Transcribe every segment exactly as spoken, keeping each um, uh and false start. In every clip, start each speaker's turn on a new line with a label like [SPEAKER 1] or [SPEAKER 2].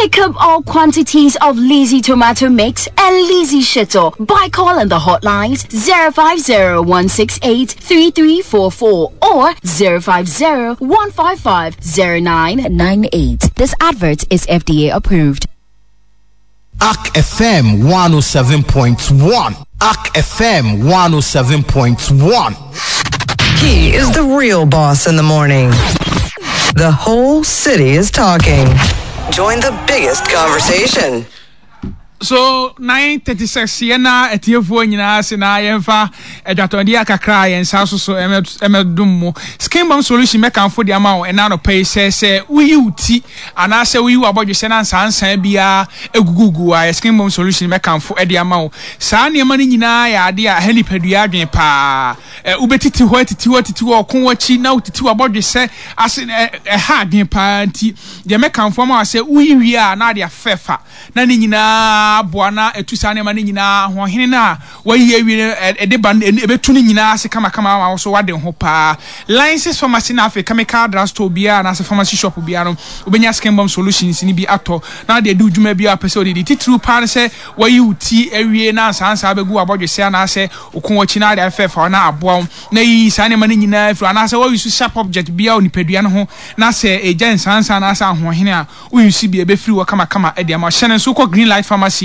[SPEAKER 1] Pick up all quantities of Lizzy tomato mix and Lizzy Shito by calling the hotlines zero five zero one six eight three three four four or zero five zero one five five zero nine nine eight. This advert is F D A approved.
[SPEAKER 2] A C F M one oh seven point one. A C F M one oh seven point one.
[SPEAKER 3] He is the real boss in the morning. The whole city is talking. Join the biggest conversation.
[SPEAKER 4] So nine thirty-six yena etiefo nyina se na yemfa adwatonde akakra yensa so so emedum mu skin bomb solution mekanfo de ama wo ena no pay se se uyi uti ana se uyi abodwese na nsansan bia egugugu a skin bomb solution mekanfo de ama wo saa niam na nyina ya ade a helipadua adwen pa ubetiti ho atiti ho atiti ho kon wachi na utiti abodwese ase e ha adwen pa nti de mekanfo ama se uyi wi a na de afefa na ni nyina aboa etu sa ne ma ne nyina ho hene na wayi awi e de ban ebetu ne nyina ase kama kama ma so wade ho pa License Pharmacy na Africa chemical drug store bia na se pharmacy shop bia no obenya skin bomb solutions ni bi ato na de du dwuma bia pese odidi titru pa ne se wayi uti awie na ansa begu abodwese na se okon wachi na de afefa na aboa na yi sa ne ma ne nyina afru na se wayi su sharp object bia onipadua no ho na se eja nsansa na asa ho hene a uyusi bia be free wo kama kama e de ma hye ne so ko Green Light Pharmacy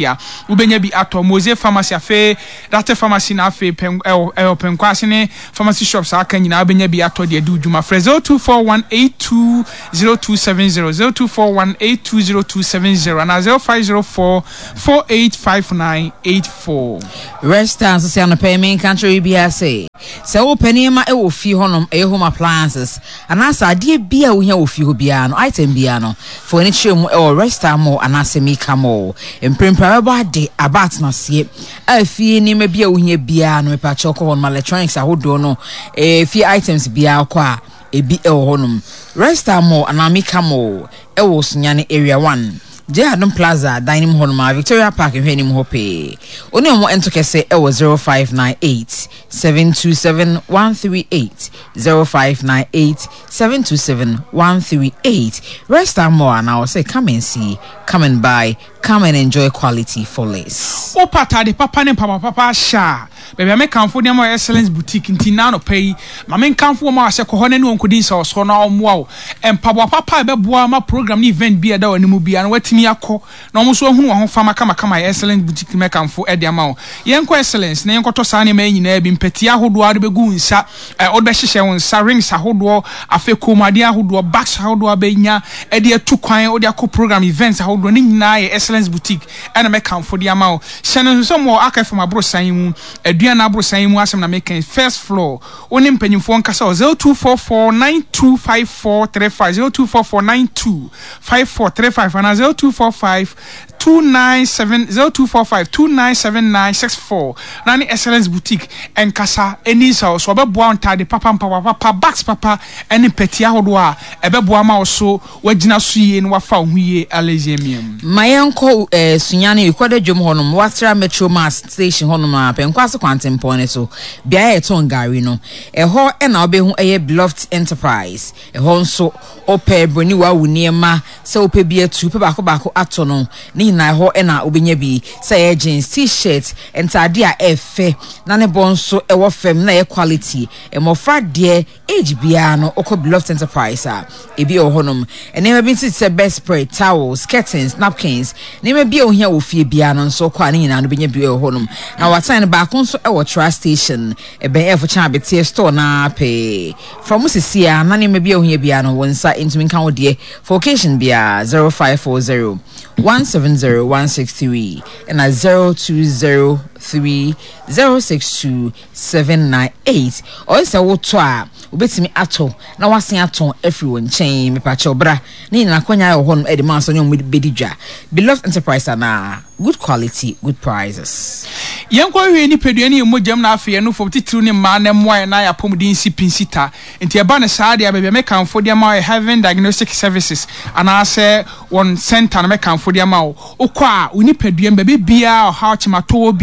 [SPEAKER 4] ubenya bi ato Mose Pharmacy afe Date Pharmacy na afe pen eh penkwase ne pharmacy shops aka nyina ubenya bi ato de du dwuma frɛ zero two four one eight two zero two seven zero zero two four one eight two zero two seven zero and zero five zero four four eight five nine eight four.
[SPEAKER 5] Rest and so on payment country B S A. So open ma e wo fi honom e home appliances. And as idea bia wo hia wo fi ho bia no item bia no for any chemu e o rest mo and as me kamo. Mprempra ba de abat na sie. A fi ni ma bia wo hia bia no me pa choko hon ma electronics ahodo no e fi items bia kwa ebi e wo honom. Rest mo and amika mo e wo sunyane area one. J Adam Plaza dining hall ma Victoria Park in hwenim ho pe. Oni omo ento kese e wo zero five nine eight seven two seven one three eight zero five nine eight seven two seven one three eight. Rest and more and I will say come and see, come and buy, come and enjoy quality for less.
[SPEAKER 4] O pata de papa ne papa papa sha. Baby me kanfo dem Excellence Boutique nti na no pay. Ma me kanfo ma se ko ho ne onkodin sa oso na omoa wo. Empabo papa e beboa ma program ni event bi e da wani mu bia na watimi akọ na omo so ahunu ho fama kama kama Excellence Boutique me kanfo e de ama wo. Yenko Excellence na yenkoto saa ne ma nyina bi mpeti ahodo ade begu nsa e wo be hyehyɛ wo nsa rings ahodo afe komade ahodo bags ahodo abenya e de atu kwan wo de akọ program events ahodo ne nyina ye Excellence Boutique e na me kanfo de ama wo. Hyɛ no so mo aka fam abrosan mu aduan abrosan mu asem na me kan first floor oni mpanyimfo nkasa zero two four four nine two five four three five zero two four four nine two five four three five and zero two four five two nine seven zero two four five two nine seven nine six four. Nani Excellence Boutique enkasa eni sa so obeboa ntade papa papa papa bags papa eni peti ahodo a ebeboa ma wo so wagina so yie no wafa wo ho yie alezemium.
[SPEAKER 5] Mayenko eh sunyane ikoda dwom honom Watra Metro Mass Station honom a penkwase kwantempon ne so bia e ton gari no eho e na obehu eye Beloved Enterprise eho nso ope broni wa wo niema se ope bi atu pe baako baako ato no ne na eho e na obenya bi se jeans t-shirt entade a efe na ne bonso ewo fem na e quality e mofra de age bia no okọ Beloved Enterprise a ebi e honom ene bi nti se best spread towels curtains napkins ne ma bi ohia wo fie bia no nso kwa ne nyina no benya bi e honom na watan baako nso e wo trust station e ben e fo chan betie store na pe from sisia na ne ma bi ohia bia no wonsa ntumi nka wo de for occasion bia zero five four zero one seven zero one six three and a zero two zero three zero six two seven nine eight or se wo to a obetimi ato na wasen ato afri won chen me pa che obra ne nyina kwanya ye ho no e de ma so nyom bedi dwa Beloved Enterprise na good quality good prices.
[SPEAKER 4] Yenkwa hwe ni pedua ni emojam na afi no fo titru ne ma na moa na ya pomdin si pinsita nti eba ne saa de abebe me kanfo de ma Heaven Diagnostic Services ana se one center na me kanfo de ma wo okwa oni pedua mbe bia o ha chima to.